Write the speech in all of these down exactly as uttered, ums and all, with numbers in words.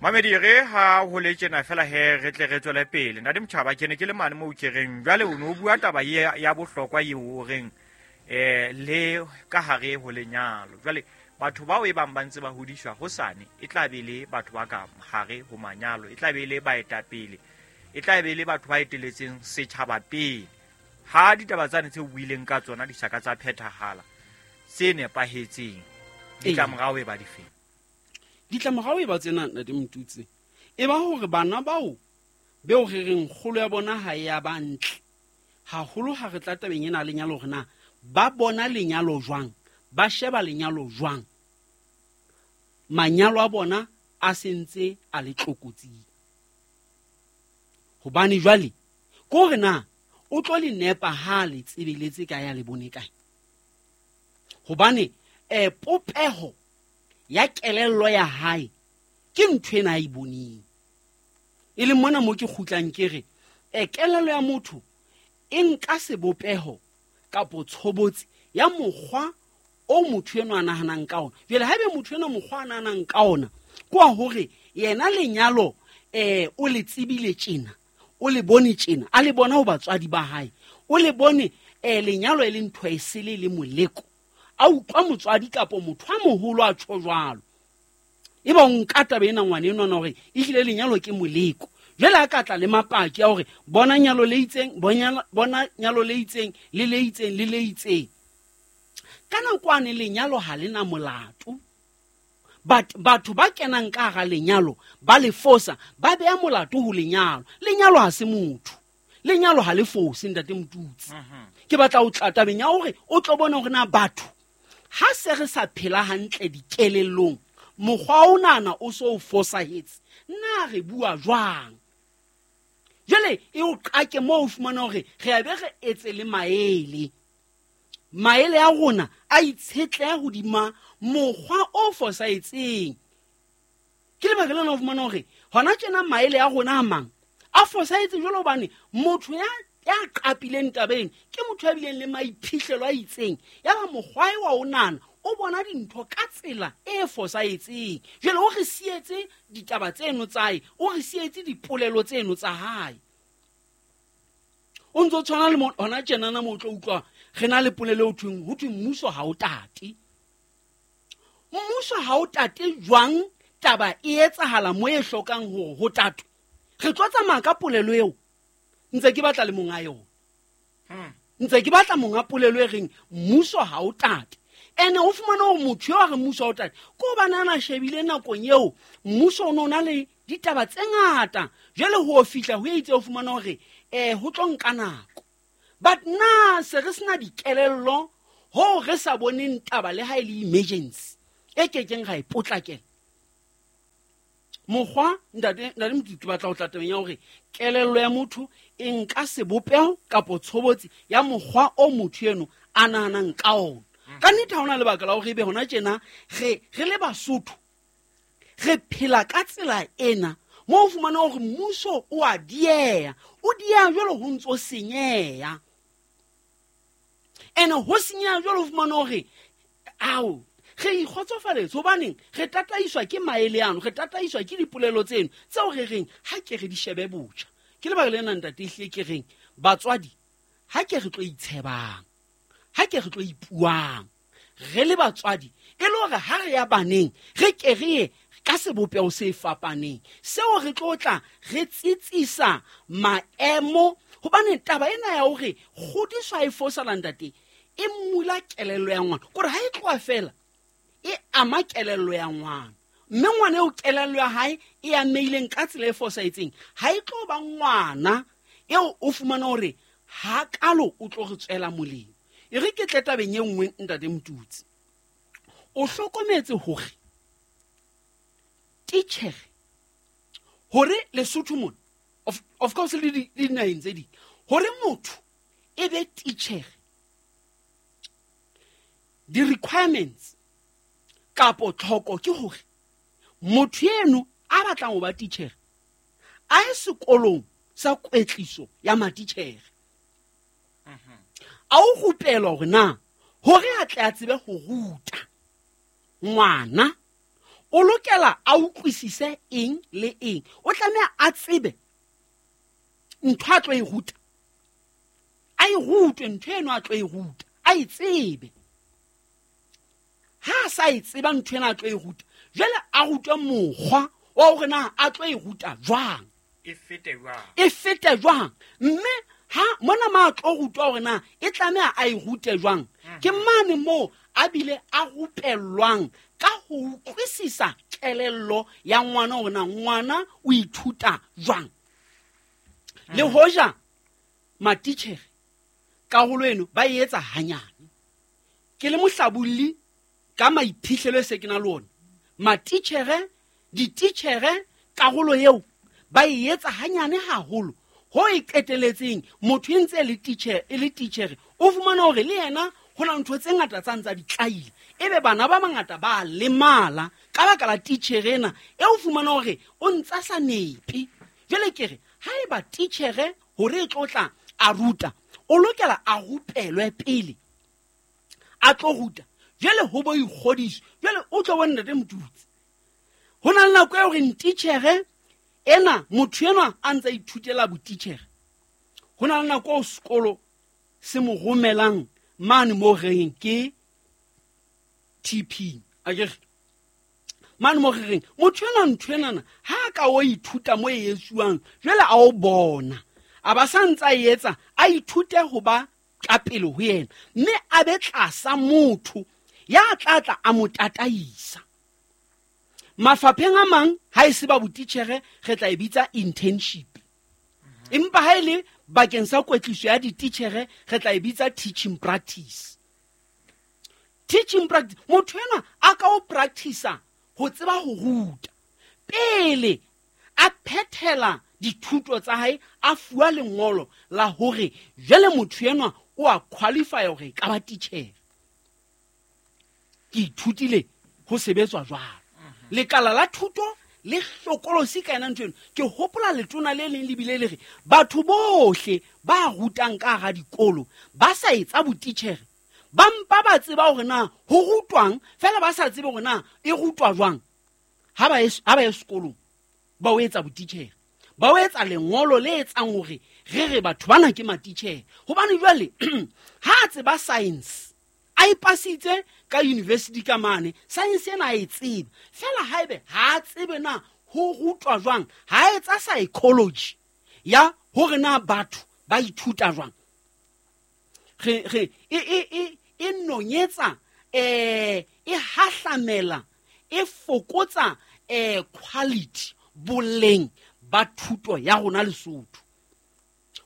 Mamedi re ha ho le tjena fela he re tle re tswele pele. Ntate Motjhaba, ke ne ke le mane moo ke reng jwale o no bua taba ye ya bohlokwa eo o reng eh le ka hare ho lenyalo. Jwale batho bao e bang ba ntse ba hodiswa hosane e tla be le batho ba ka hare ho manyalo, e tla be le baetapele, e tla be le batho ba eteletseng setjhaba pele. Ha ditaba tsane tse o buileng ka tsona di sa ka tsa phethahala tse nepahetseng, ditlamorao e ba difeng? Ditlamorao e ba tsena, Ntate Motutsi, e ba hore bana bao beo re reng kgolo ya bona ha e ya ba ntle haholo ha re tla tabeng ena lenyalo, hore na ba bona lenyalo jwang, ba sheba lenyalo jwang, manyalo a bona a sentse a le tlokotsing. Hobane jwale ke hore na o tlo le nepa ha le tsebeletse kae, ya le bone kae. Hobane eh popeho ya kelello ya hae ke ntho ena a e boneng. E leng mona mo ke kgutlang ke re eh kelello ya motho e nka sebopeho kapo tshobotsi ya mokgwa o motho enwa a nahanang ka ona. Jwale haebe motho enwa mokgwa a nahanang ka ona ke wa hore yena lenyalo eh o le tsebile tjena, o le bone tjena, a le bona ho batswadi ba hae, o le bone eh lenyalo e le ntho e sele le moleko, a utlwa motswadi kapo motho a moholo a tjho jwalo, e ba o nka taba ena ngwana enwa hore ehlile lenyalo ke moleko. Jwale a ka tla le mapaki a hore bona nyalo le itseng, bona nyalo le itseng, le le itseng, le le itseng. Ka nakwane lenyalo ha le na molato. But batho ba kenang ka hara lenyalo ba le fosa, ba beha molato ho lenyalo. Lenyalo ha se motho, lenyalo ha le fose, Ntate Motutsi. Ke batla ho tla tabeng ya hore o tlo bona hore na batho ha se re sa phela hantle dikelellong, mokgwa o nana o so o fosahetse, na re bua jwang? Jwale e o qake moo o fumana hore re a be re etse le maele. Maele a rona a itshetleha hodima mokgwa o fosahetseng. Ke lebaka lena o fumana hore hona tjena maele a rona a mang a fosahetse jwalo, hobane motho ya ya qapileng tabeng ke motho ya bileng le maiphihlelo a itseng, ya ba mokgwa wa o nana o bona dintho ka tsela e fosahetseng. Jwale o re sietse ditaba tseno tsa hae, o re sietse dipolelo tseno tsa hae. O ntso tshwana le hona tjenana mo o tlo utlwa re na le polelo ho thweng, ho thwe mmuso ha o tate. Mmuso ha o tate jwang? Taba e etsahala mo e hlokang hore ho tatwe. Re tlo tsamaya ka polelo eo ntse ke batla le monga yona. Ntse ke batla monga polelo e reng mmuso ha o tate. Ene o fumana hore motho eo a re mmuso ha o tate ke hobane a na shebile nakong eo mmuso o no na le ditaba tse ngata. Jwale ho fihla ho itse o fumana hore eh ho tlo nka nako. But na se re sena dikelello ho re sa boneng taba le ha e le emergency e kekeng ra e potlakela. Mokgwa, ntate ntate Motutsi, ke batla ho tla tabeng ya hore kelello ya motho e nka sebopeho kapo tshobotsi ya mokgwa o motho eno a nahanang ka ona. Ka nnete ha hona lebaka la hore ebe hona tjena re re le Basotho re phela ka tsela ena mo o fumana hore mmuso o a dieha, o dieha jwalo ho ntso senyeha. Ene ho senyeha jwalo ho fumana hore ao re ikgotsofaletse, hobaneng re tataiswa ke maele ano, re tataiswa ke dipolelo tseno tseo re reng ha ke re di shebe botjha. Ke lebaka lena ntate ehlile ke reng batswadi ha ke re tlo itshebang, ha ke re tlo ipuang re le batswadi, e le hore ha re ya baneng re ke re ye ka sebopeho se fapaneng seo re tlo tla re tsitsisa maemo. Hobane taba ena ya hore kgodiso ha e fosala ntate e mmula kelello ya ngwana, kore ha e tloha fela e ama kelello ya ngwana, mme ngwana eo kelello ya hae e ameileng ka tsela e fosahetseng ha e tlo ba ngwana eo o fumana hore ha kalo o tlo re tswela molemo. E re ke tle tabeng e nngwe Ntate Motutsi, o hlokometse hore titjhere hore Lesotho mona of, of course le dinaheng tse ding, hore motho e be titjhere di-requirements kapo tlhoko ke hore motho eno a batlang ho ba titjhere a ye sekolong sa kwetliso ya matitjhere, a o rupelwa hore na hore a tle a tsebe ho ruta ngwana O lokela a utlwisise eng le eng, o tlameha a tsebe ntho a tlo e ruta, a e rutwe ntho eno a tlo e ruta, a e tsebe. Ha a sa e tseba ntho ena a tlo e ruta, jwale a rutwe mokgwa wa hore na a tlo e ruta jwang, e fete jwang, e fete jwang. Mme ha mona ma a tlo rutwa hore na e tlameha a e rute jwang, ke mane moo a bile a rupellwang ka ho utlwisisa kelello ya ngwana hore na ngwana o ithuta jwang. Le hoja matitjhere karolo eno ba e etsa hanyane, ke le mohlabolli ka maiphihlelo e se ke na le ona, matitjhere dititjhere karolo eo ba e etsa hanyane haholo ho e qeteletseng motho e ntse e le titjhere e le titjhere o fumana hore le yena ho na ntho tse ngata tsa ntsa di tlaile, ebe bana ba bangata ba lemala ka baka la titjhere ena e o fumana hore o ntsa sa nepe. Jwale ke re haeba titjhere hore e tlo tla a ruta, o lokela a rupelwe pele a tlo ruta, jwale ho bo ikgodiso. Jwale o tlo bona Ntate Motutsi, ho na le nako eo reng titjhere ena motho enwa a ntsa ithutela botitjhere, ho na le nako eo sekolo se mo romelang mane mo reng ke T P, akere mane mo reng motho enwa ntho enana ha a ka o ithuta mo e etsuwang, jwale a o bona a ba sa ntsa e etsa, a ithute ho ba ka pele ho yena, mme a be tlasa motho ya tla tla a mo tataisa. Mafapheng a mang ha e se ba botitjhere re tla e bitsa internship, empa ha e le bakeng sa kwetliso ya dititjhere re tla e bitsa teaching practice. Teaching practice, motho enwa a ka o practice-a ho tseba ho ruta pele a phethela dithuto tsa hae, a fuwa lengolo la hore jwale motho enwa o a qualify hore e ka ba titjhere. Ke ithutile ho sebetswa jwalo. Lekala la thuto le hlokolosi ka yena ntho eno. Ke hopola letona le leng le bile le re batho bohle ba rutang ka hara dikolo ba sa etsa botitjhere, ba mpa ba tseba hore na ho rutwang, fela ba sa tsebe hore na e rutwa jwang. Ha ba ha ba ye sekolong ba o etsa botitjhere, ba o etsa lengolo le etsang hore re re batho bana ke matitjhere. Hobane jwale ha a tseba science, a ipasitse ka university ka mane, science ena a e tseba, fela haebe ha a tsebe na ho rutwa jwang, ha a etsa psychology ya hore na batho ba ithuta jwang, re re e e e e nonyetsa eh e hahlamela e fokotsa eh quality boleng ba thuto ya rona Lesotho.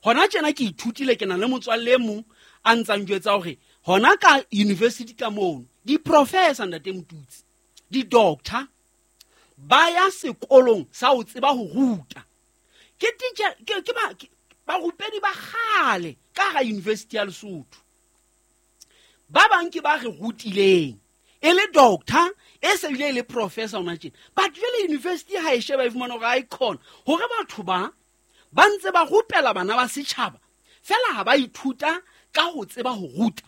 Hona tjena ke ithutile, ke na le motswalle e mong a ntsang jwetsa hore hona ka university ka mono di-professor Ntate Motutsi, di-doctor ba ya sekolong sa ho tseba ho ruta. Ke teacher ke ke ba barupedi ba kgale ka hara university ya Lesotho, ba bang ke ba re rutileng e le doctor e se bile e le professor hona tjena. But jwale university ha e sheba e fumana hore ha e khona hore batho ba ba ntse ba rupela bana ba setjhaba, fela ha ba ithuta ka ho tseba ho ruta.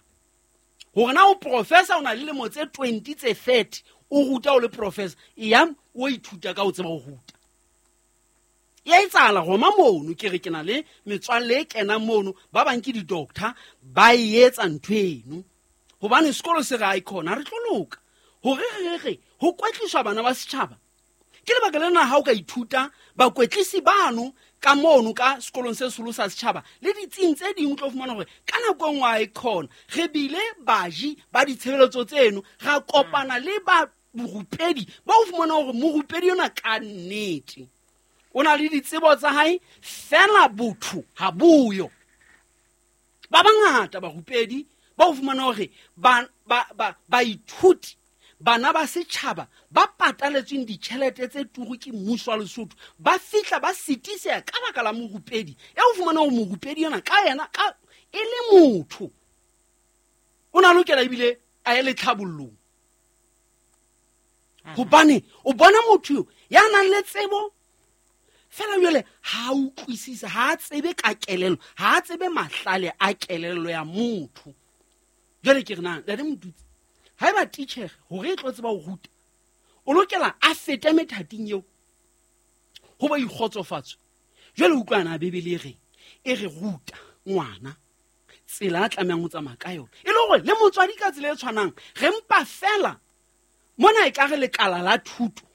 Hore na o professor o na le lemo tse twenty tse thirty o ruta o le professor, e ya o ithuta ka ho tseba ho ruta. Ya etsahala roma mono, ke re ke na le metswalle e kenang mono, ba bang ke di-doctor ba e etsa ntho eno. Hobane sekolo se re ha e khona, re tlo loka hore re re ho kwetliswa bana ba setjhaba. Ke lebaka lena ha o ka ithuta bakwetlisi bano ka mono ka sekolong se seholo sa setjhaba le ditsing tse ding, o tlo fumana hore ka nako e nngwe ha e khona re bile baji ba ditshebeletso tseno, ra kopana le ba borupedi ba o fumana hore morupedi yona ka nnete o na le ditsebo tsa hae, fela botho ha boyo. Ba bangata barupedi ba o fumana hore ba ba ba baithuti bana ba setjhaba ba pataletsweng ditjhelete tse turu ke mmuso wa Lesotho ba fihla ba sitiseha ka baka la morupedi. E o fumana hore morupedi yona ka yena ka e le motho o na lokela ebile a ye letlhabollong, hobane o bona motho ya nang le tsebo fela jwale ha a utlwisise, ha a tsebe ka kelello, ha a tsebe mahlale a kelello ya motho. Jwale ke re na Ntate Motutsi, haeba titjhere hore e tlo tseba ho ruta, O lokela a fete methating eo ho ba ikgotsofatso. Jwale utlwana Bibele e reng? E re ruta ngwana tsela a tlamehang ho tsamaya ka yona. E le hore le motswadi ka tsela e tshwanang, re mpa fela mona e ka re lekala la thuto.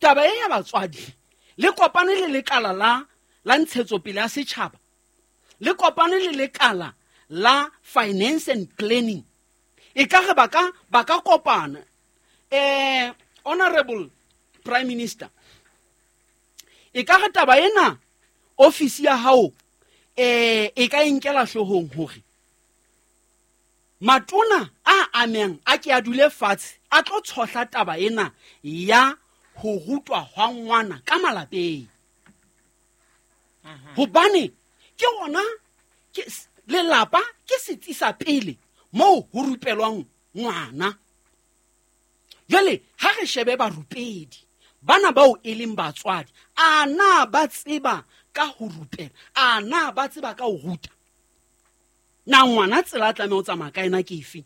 Taba e ya batswadi le kopane le lekala la la ntshetsopele ya setjhaba, le kopane le lekala la finance and planning. E ka re ba ka ba ka kopana. Eh Honorable Prime Minister, e ka re taba ena ofisi ya hao eh e ka inkela hloohong hore matona a ameng a ke a dule fatshe a tlo tshohla taba ena ya ho rutwa hwa ngwana ka malapeng. Hobane ke ona ke lelapa ke setsi sa pele moo ho rupelwang ngwana. Jwale ha re shebe barupedi bana bao e leng batswadi, a na ba tseba ka ho rupela, a na ba tseba ka ho ruta? Na ngwana tsela a tlameha ho tsamaya ka ena ke efe?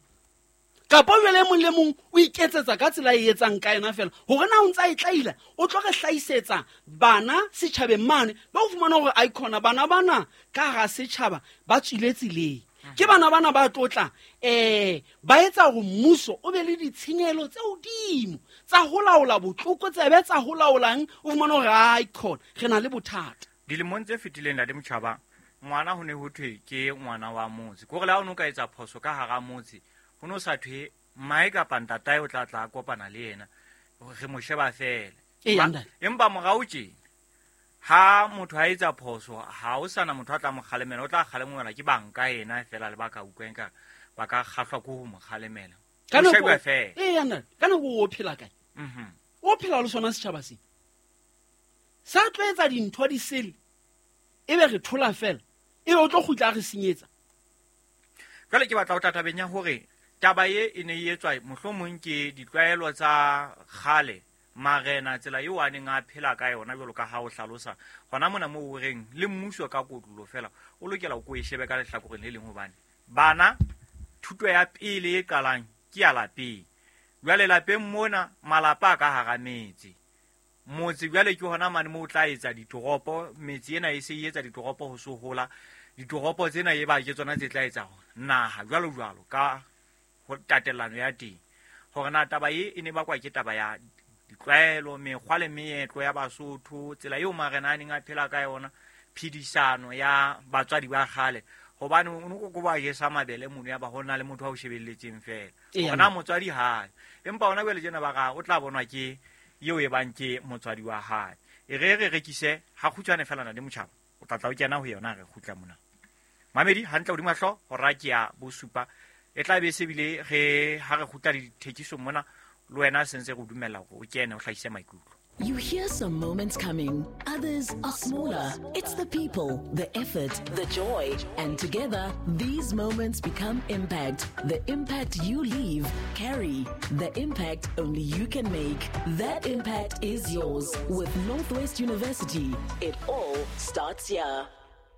Kapa jwale e mong le mong o iketsetsa ka tsela e etsang ka ena fela, hore na o ntsa e tlaila, o tlo re hlahisetsa bana setjhabeng mane, ba o fumana hore aikhona bana bana ka hara setjhaba ba tswile tseleng. Ke bana bana ba tlotla eh ba etsa hore mmuso o be le ditshenyehelo tse hodimo tsa ho laola botlokotsebe, tsa ho laolang, o fumana hore aikhona re na le bothata. Dilemong tse fetileng ntate Motjhaba, ngwana ho ne ho thwe ke ngwana wa motse. Ke hore le ha o no ka etsa phoso ka hara motse, ho no sa thwe mmae kapa ntatae o tla tla kopana le yena, re mo sheba fela. Empa morao tjena ha motho a etsa phoso, ha o sana motho a tla mo kgalemela, o tla kgalemelwa ke banka yena fela le ba ka utlweng ka ba ka kgahlwa ke ho mo kgalemela. Ka nako ee ntate, ka nako o phela kae? Mhm. O phela le sona setjhaba se. Sa tlo etsa dintho di sele, ebe re thola fela, ebe o tlo kgutla re senyetsa. Jwale ke batla ho tla tabeng ya hore taba e e ne e etswa mohlomong ke ditlwaelo tsa kgale, marena tsela eo a neng a phela ka yona jwalo ka ha o hlalosa hona mona moo o reng le mmuso ka kotlolo fela o lokela ho e shebe ka lehlakoreng le leng, hobane bana thuto ya pele e qalang ke ya lapeng. Jwale lapeng mona malapa a ka hara metse, motse jwale ke hona mane moo o tla etsa ditoropo, metse ena e se e etsa ditoropo ho so hola, ditoropo tsena e ba ke tsona tse tla etsa naha jwalo jwalo ka ho tatelano ya teng. Hore na taba e e ne bakwa ke taba ya ditlwaelo, mekgwa le meetlo ya Basotho, tsela eo marena a neng a phela ka yona, phedisano ya batswadi ba kgale, hobane o no ko ba jesa mabele mono ya ba hona le motho a o shebelletseng fela, hore na motswadi hae. Empa hona jwale tjena ba ra o tla bonwa ke eo e bang ke motswadi wa hae. E re re rekise ha kgutshwane fela na le Motjhaba, o tla tla o kena ho yona re kgutla mona. Mamedi hantle hodima hlooho hora ke ya bosupa, e tla be se bile re ha re kgutla dithekisong mona, le wena se ntse re dumella hore o kene o hlahise maikutlo. You hear some moments coming, others are smaller. It's the people, the effort, the joy. And together, these moments become impact. The impact you leave, carry. The impact only you can make. That impact is yours. With Northwest University, it all starts here.